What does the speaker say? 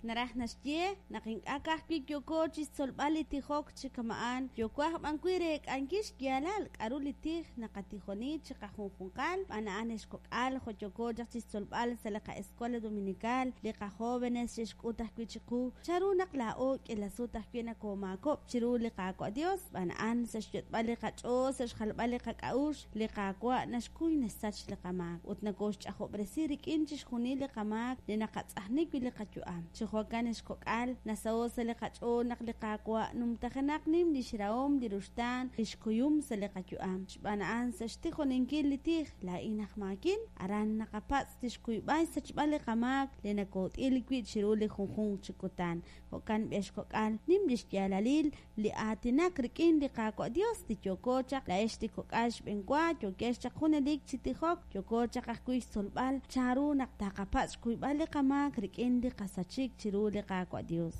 Naraj naxye, naq ink'a' ka'ajwi' yooko chixtzolb'al li tijok chi kama'an, yooko aj b'an wi' reek'ankil xyaalal k'a'ru li tij naqatijoni chiqajunjunqal. Xb'aan a'an, ex kok'al, jo' yooko chaq chixtzolb'al sa' li qa'escuela dominical, li qajóvenes xe'xk'ut ajwi' chiqu chanru naq laa'o k'iila sut ajwi' nakoomaakob'k chiru li Qaawa' Dios. Xb'aan a'an, sa' xyot'b'al li qach'ool, sa' xjalb'al li qak'a'uxl, li Qaawa' naxkuy naxsach li qamaak ut nakooxch'ajob'resi rik'in chixjunil li qamaak li naqatz'ajni wi' li qayu'am. Chi jo'kan, ex kok'al, nasaho' sa' li qach'ool naq li Qaawa' numtajenaq nim lix rahom, li ruxtaan, lix kuyum sa' li qayu'am. Xb'aan a'an, sa' xtijoninkil li tij, Laa'in aj maakin, aran naqapatz' tixkuyb'al xsachb'al li qamaak li nakoot'il wi' chiru li junjunq chi kutan. Jo'kan b'i ex kok'al, nim lix yaalalil li aatinak rik'in li Qaawa' Dios li yooko chaq laa'ex li kok'al xb'enwa yookex chaq junelik chi tijok, yooko chaq ajwi' xtzolb'al chanru naq taqapatz' xkuyb'al li qamaak rik'in li qasachik chiru li Qaawa' Dios.